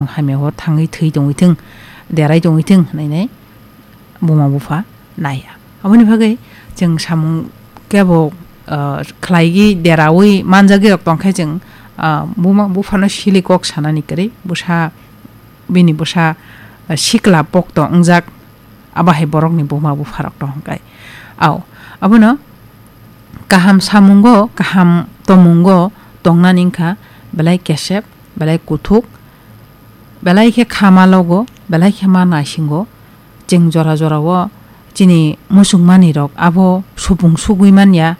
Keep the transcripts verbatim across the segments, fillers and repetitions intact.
hamya o thangwi thwi tongwi thwng, derai tongwi thwng hwnwi nai buma bupha naiya. Aboni bagwi chwng samung kebo, ah, khlaigwi deraui manjagwi rok tongkhe chwng, ah, buma buphano sili kok sanani kwrwi bwsa, bini bwsa, ah, sikla pokto wngjak, abo hai borokni buma bupharok tong hwnkhai. Au, abono kaham samungo, kaham tomungo tongnani wngkha belai kesep, belai kuthuk, belai khe kha ma logo, belai khe ma naisingo. Chwng jora jorao chini muchungmanirok abo supung sugwi manya,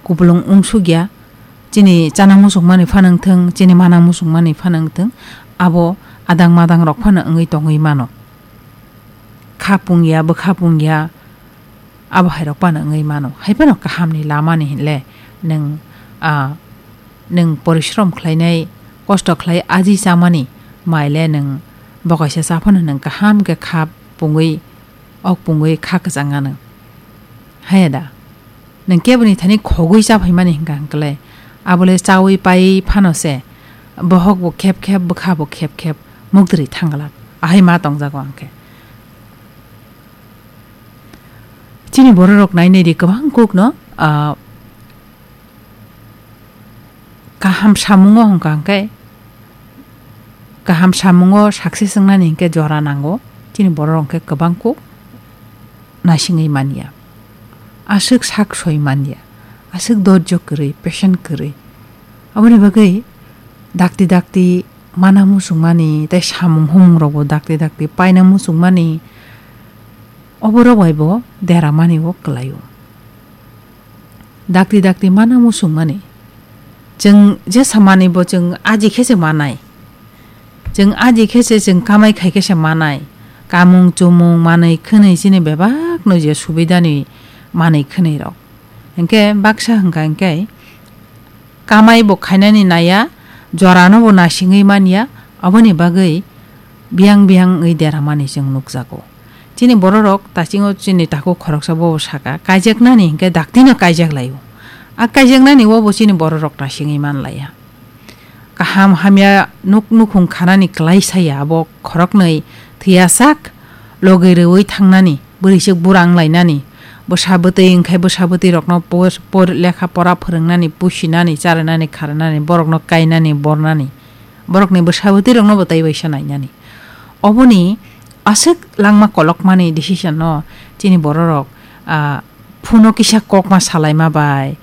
kupulung wngsukya. Chini chana muchungmani phano wngthwng, chini mana muchungmani phano wngthwng, abo adang madangrok phano wngwi tongwi mano. Kha pungya, bwkha pungya, abo hairok phano wngwi mano. Hai phano kahamni lamani hinle nwng, ah, nwng porishrom khlainai, kosto khlai aji chamani maile nwng bokaisa cha phano nwng kaham khe kha pungwi, ok pungwi kha kwchang anw. Haya da? Nwng keboni thani khogwi cha phaimani hwnka hwnkhe le, abole chaui pai phano se, bohok bo khep khep, bwkha bo khep khep, mukdri thangla. Ahai ma tongjago ang khe. Chini bororok nainai di kwbang kukno, ah, kaham samungo hwnka hwnkhe, kaham samungo success wngnani hwnkhe jora nango, chini bororok hwnkhe kwbang kuk naisingwi manya. Aswk sak soi manya, aswk dorjo kwrwi, patient kwrwi. Aboni bagwi dakti dakti mana muchungmani tei samung humungrokbo dakti dakti paina muchungmani, oborok bai bo deramani o kwlaio. Dakti dakti mana muchungmani. Chwng jesa manwi bo chwng aji khe se manai. Chwng aji khe se chwng kamai khai khe se manai. Kamung chumung manwi khwnwi chini bebak no je subidani manwi khwnwi rok. Hinkhe baksa hwnkha hinkhe kamai bo khainani naiya, jorano bo nasingwi manya, aboni bagwi biyang biyang wngwi deramani chwng nukjago. Chini bororok tachingo chini takhuk khoroksa bobo saka, kaijaknani hinkhe daktino kaijak laio. A kaijaknani obo chini bororok nasingwi manlaiya. Kaham hamya nuk nukhung khanani kwlai saya abo khoroknwi thwiyasak logwi rwui thangnani, bwrwisuk bura wnglainani, bwsa bwtwi wngkhai bwsa bwtwi rokno por, por lekha pora phwrwngnani, pusinani, charwnani, kharwnani, borokno kainani, bornani, borokni bwsa bwtwi rokno bo tei waisa nainani. Oboni aswk langma kolokmani decision no chini bororok, ah, phuno kisa kokma salaima bai,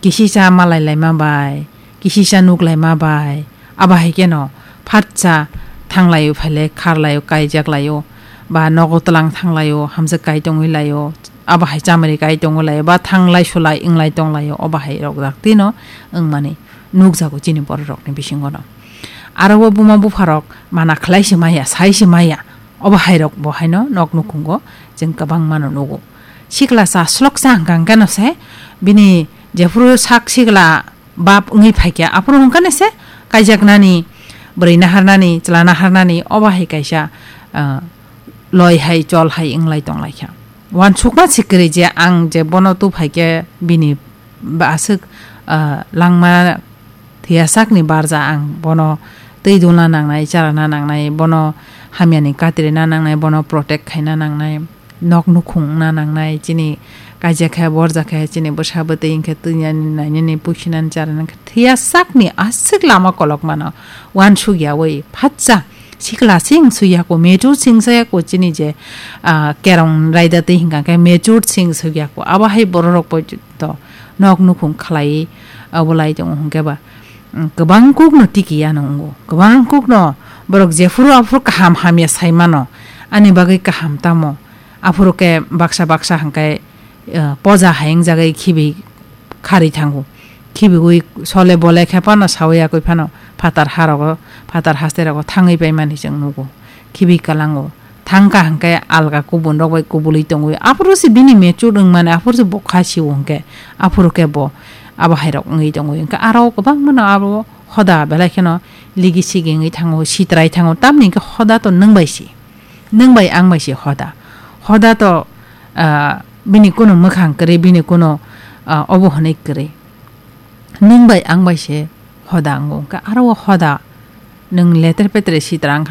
kisisa malai laima bai, kisisa nuk laima bai, abo hai kheno phatsa thanglai o phailai kharlai o kaijak lai o, ba nogo twlang thanglai o hamjak kai tongwi lai o, abo hai chamari kai tongwi lai o, ba thanglai sulai wnglai tong lai o, obo hai rok dak tino wngmani nukjago chini bororokni bisingo no. Aro o buma bupharok mana khlai se maya, sai se maya, obo hai rok bo haino nok nukhungo chwng kwbangma no nugo. Sikla cha slok cha hwnkha hwnkhe no se bini jephuru sak sikla bap wngwi phaikha, aphuru hwnkha ni se kaijaknani, bwrwi naharnani, chwla naharnani, obo hai kaisa, ah, loi hai, chol hai wnglai tonglaikha. Uansukma se kwrwi je ang je bono tu phaikhe bini ba aswk, ah, langma thwiya sakni barja ang bono twi dulna nangnai, charana nangnai, bono hamyani katrina nangnai, bono protect khaina nangnai, nok nukhung wngna nangnai, chini kaijak khe borjak khe chini bwsa bwtwi wngkhe twinani nainani pusinani charani khe thwiya sakni aswk lama kolok mano. Uansuk yaui phatsa sikla sing suyako, mature sing suyako chini je, ah, kerong raida twi hwnkha khe mature sing suyako. Abo hai bororok bo to nok nukhung khlai abo lai tongo hwnkhe ba, mm, kwbang kukno tiki ya nungo, kwbang kukno borok jephuru aphuru kaham hamya sai mano, ani bagwi kaham tamo, aphuru khe baksa baksa hwnkhe, eh, poja hai wngjagwi khibi kharwi thango, khibiwi sole bole khe phano sawi yakwi phano phatar harogo, phatar haste rogo thangwi paimani chwng nugo, khibi kwlango. Thangkha hwnkhe alga kubun rok bai kubului tongwi. Aphuru se bini mature wngmani, aphuru se bo kha sio hwnkhe, aphuru khe bo abo hai rok wngwi tongwi. Hwnkhe aro kwbangma no abo hoda belai kheno ligi sigi wngwi thango, sitrai thango. Tamni hwnkhe hoda to nwng bai se, nwng bai ang bai se hoda. Hoda to, ah, bini kuno mwkhang kwrwi, bini kuno, ah, obo hwnwi kwrwi. Nwng bai ang bai se hoda wngo. Hwnkhe aro o hoda nwng leter petre sitra wngkha